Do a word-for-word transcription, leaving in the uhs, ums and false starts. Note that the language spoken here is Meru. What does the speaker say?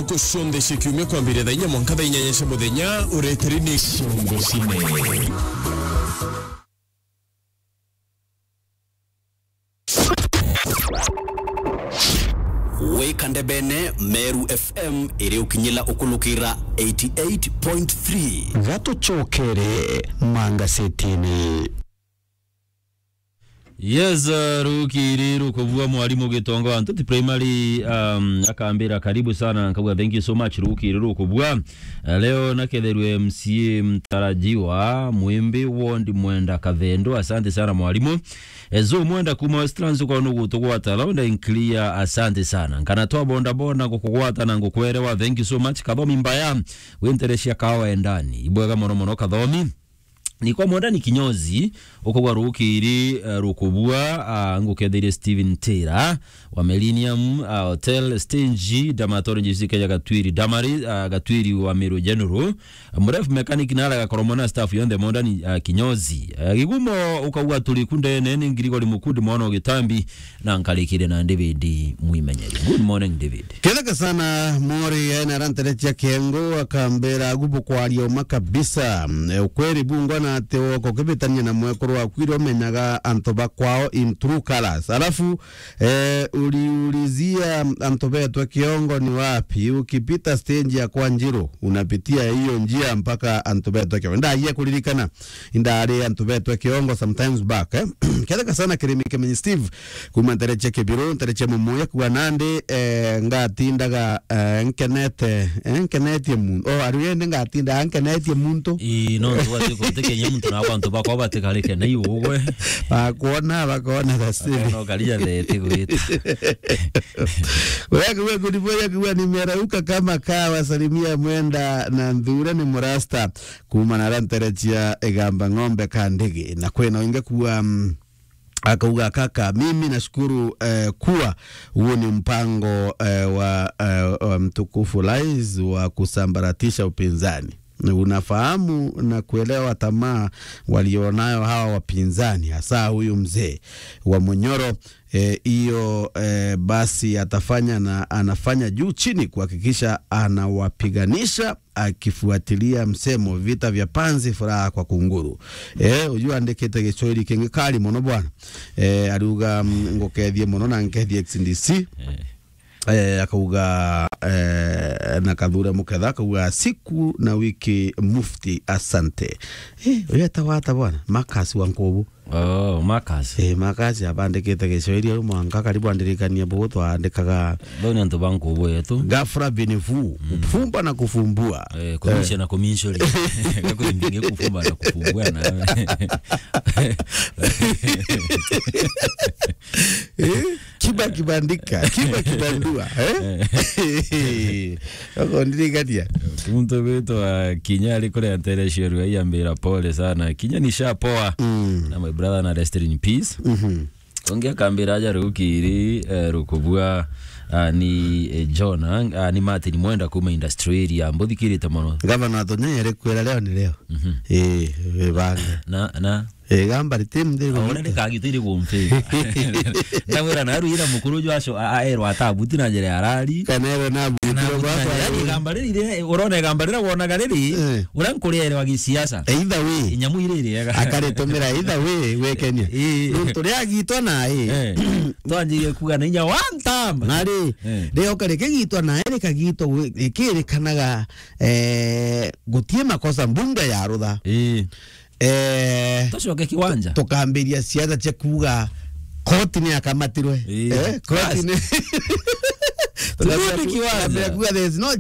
Ntuku cionthe cia kiumia kwambiria thaa inya mwanka thaa inyanya cia muthenya, ureteri ni Ciongo Cine. Wika ndebene, Meru F M iri ukinyila ukulukira eighty eight point three. Gatucokere mangasetini. Yes, uh, rukiri rukubua mwalimu Gitonga wa Ntuti Primary, um, akambira, "Karibu sana," nkauga, "Thank you so much, rukiri rukubua." Uh, leo naketherwe M C A mtarajiwa, Mwimbi Ward Mwenda Kathendo. Asante sana mwalimu. Ezo Mwenda kuma Westlands, ukorwo nugutugwata loud and clear, asante sana. Nkana twa bonda bonda ngukugwata na ngukwerewa, thank you so much. Kathomi Mbaya, winterecia kawa endani. Ibwega mono mono Kathomi. Ni kwa Mwenda ni kinyozi, ukugwa rukiri, eh, rukubua, ah, nguketherie Steven Tera wa Millennium, ah, Hotel, Stingy, Dermatologist Jisi Keja Gatwiri, Damari, ah, Gatwiri wa Miru General, Mref Mechanic na aragakoromo na staff yonthe Mwenda ni, ah, kinyozi. Ah, Gigumo ukauga turi kundene ni Ngirigori Mukundi mwana wa Gitambi, na nkarikire na David Mwimenyeri. Good morning, David. Ketheka sana, Mori, ena aranteretia kengo, akambira, "Gubu kwaria uma kabisa. Mm, eh, ukweri bungwa na ati woko kibitania na mwekuru waku, iri umenyaga antu ba kwao in true colors. Alafu, eh, uliulizia antu betwe kiongo ni wapi? Ukipita stage ya kwa Njiru, unapitia hiyo njia mpaka antu betwe kiongo." Ndagia kuririkana, indari antu betwe kiongo sometimes back, eh? Ketheka sana, Kirimi Kimenyi Steve, kuma ntere cia Kibiru, ntere cia Mumuya, kuga nandi, eh, ngatindaga, eh, nkenete, eh, nkenetie muntu. Oh, ari ende ngatindaga nkenetie muntu. Ii, no, tugatikwo tikenya muntu na abantu bakwa batikarike na iugwe. Bakwona, bakona the same. Bakona ukaria theti gwita. Wewe, wewe, kulipo ya kuwa nimerauka kama kawa, salimia Mwenda na Nthure ni murasta. Kuma na aria ntere cia Igamba Ng'ombe ka Ndigi. Na kwina wingi kuwa, mm, akauga, "Kaka, mimi nashukuru, eh, kuwa huu ni mpango, eh, wa, eh, wa mtukufu rais wa kusambaratisha upinzani. Unafahamu na kuelewa tamaa walionayo hawa wapinzani, hasa huyu mzee wa Munyoro. Eh, hiyo, eh, basi atafanya na anafanya juu chini kuhakikisha anawapiganisha, akifuatilia msemo, 'Vita vya panzi, furaha kwa kunguru.'" Eh, uju andikite Giswahili kingi kari mono bwana. Eh, ariuga, mm, ngukethie mono na nkethie X D C. Eh. Eh, akauga, eh, na Kathure Muketha, akauga, "Siku na wiki mufti, asante." Eh, uyu etagwa ata bwana? Marcus wa Nkubu. Oh, Marcus. Eh, Marcus abandikite Giswahili au mwanka karibu andirikania bugu twaandikaga. Thau ni antu ba Nkubu yetu. Ghafla bin vu, kufumba na kufumbua. Eh, kumisha na kuminshuri. Kako ni mbingi kufumba na kufumbua na. Eh? Kiba kibandika, kiba kibandua, eh? Eh. Oko ndirikania. Muntu witwa Kinya ari kuria ntere cia Ruai ambira pole sana. Kinya ni sha poa. Mm. Na my brother na rest in peace. Mhm. Ungi akambira aja rukiri, eh, rukubua, ah, ni, eh, John, ah, ni Martin Mwenda kuma industry area. Mbuthikirite mono. Gavana wa Tunyai ari kwira leo ni leo. Mhm. Eh, we banga. Na, na Eh, gamba rite mthiri. Ona ni kagitiri gumfi. Ndawira na ruira mukuru jwa aco aerwa atabuti na njira ya rari. Kana erwa na buti na buti na njira ya rari. Gamba riri, urona gamba rira wonaga riri, eh, ura nkuria ere wa gisiasa. Either way. Inyamu iri iri ega. Akaritumira either way, we Kenya. Eh. Nontu ria agitwa na, eh. Eh. Twanjirie kuga na inya one time. Na ri, eh, rio kare kigitwa na ere kagitwa gwi-, ikirikanaga, eh, gutie makosa mbunge ya rutha. Eh. Eh, tucoke kiwanja. Tukambiria siasa cia kuuga koti ni akamatirwe. Ii. Eh, koti ni. Turudi kiwanja. Tukambia kuuga there is no